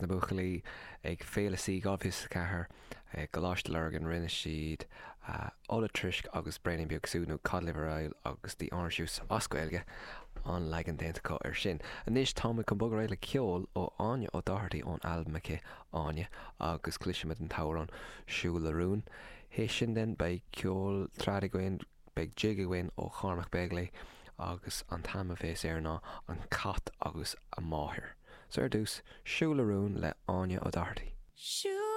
Na buachaillí ag Féile Sí 2024 i gColáiste Lurgan rinne siad Ola Truisc agus Braoinín Beag Sú nó Cod Liver Oil agus The Orange Juice as Gaeilge, an leagan déanta acu air sin. Anois táimid chun bogadh ar aghaidh le ceol ó Áine O'Doherty ón albam aici Áine agus cloisfimid an t-amhrán Siúl le Rún. Théis sin then beidh ceol trad againn, Beidh jig againn ó Chormac Begley agus an t-ainm a bhéas air ná An Cat agus a Máthair. So ar dtús, Siúl le Rún le Áine O'Doherty. Siúl.